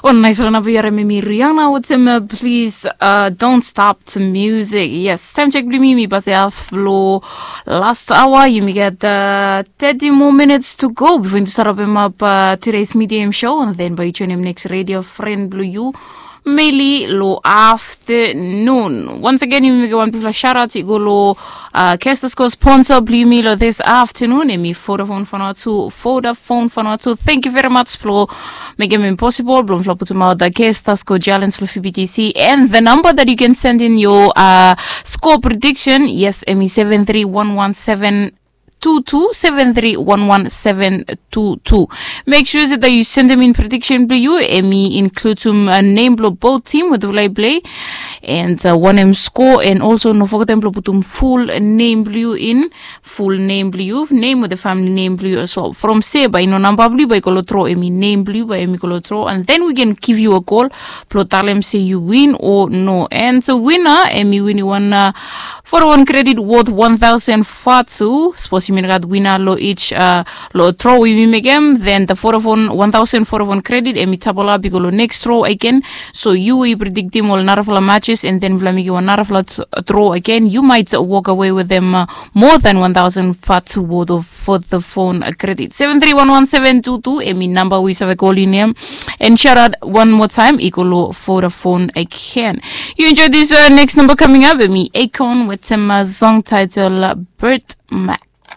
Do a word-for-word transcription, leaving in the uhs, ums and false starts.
O nais rana blo yu harim em i Rihanna wetem Please, Don't Stop to Music. Yes, taem jek blo mi mi pase haf blo last aoa. Yumi gat thirty more minutes to go bifo yumi tu stap rapem ap today's medium show, and then bae yu joinim next radio friend blo yu mainly lo afternoon. Once again, yumi mekem wan bigfala shout out i go lo uh, Kestas ko sponsor blo yumi lo this afternoon. Em i Vodafone Vanuatu, Vodafone Vanuatu. Thank you very much blo mekem em possible blo mifala putum out the Kestas ko challenge blo V B T C, and the number that you can send in your uh, score prediction, yes, em i seven three one one seven two two, seven three one one seven two two. Make sure se that you send them in prediction blo yu, em i include um, uh, name blo both team wetem ol i play, and uh, wanem score, and also no fogetem blo putum full name blo yu in, full name blo yu, name wetem family name blo yu as well. From se bae i no namba blo yu bae i go lo draw, em i name blo yu bae em i go lo draw, and then we can give you a call blo talem se yu win o no. And the winner em i winim wan uh, Vodafone credit worth one thousand vatu. Sapos yumi no gat winner lo each uh, lo draw we yumi mekem, then the Vodafone, one thousand Vodafone credit em i double up i go lo next draw again. So yu we yu predictim ol narafala matches, and then mifala mekem wan narafala draw again, you might walk away with them uh, more than one thousand vatu worth of Vodafone uh, credit. Seven three one one seven two two em i namba we yu save call in em. And shout out one more time i go lo Vodafone again. You enjoy this uh, next number coming up, em i Akon wetem uh, song title uh, Bird Mac.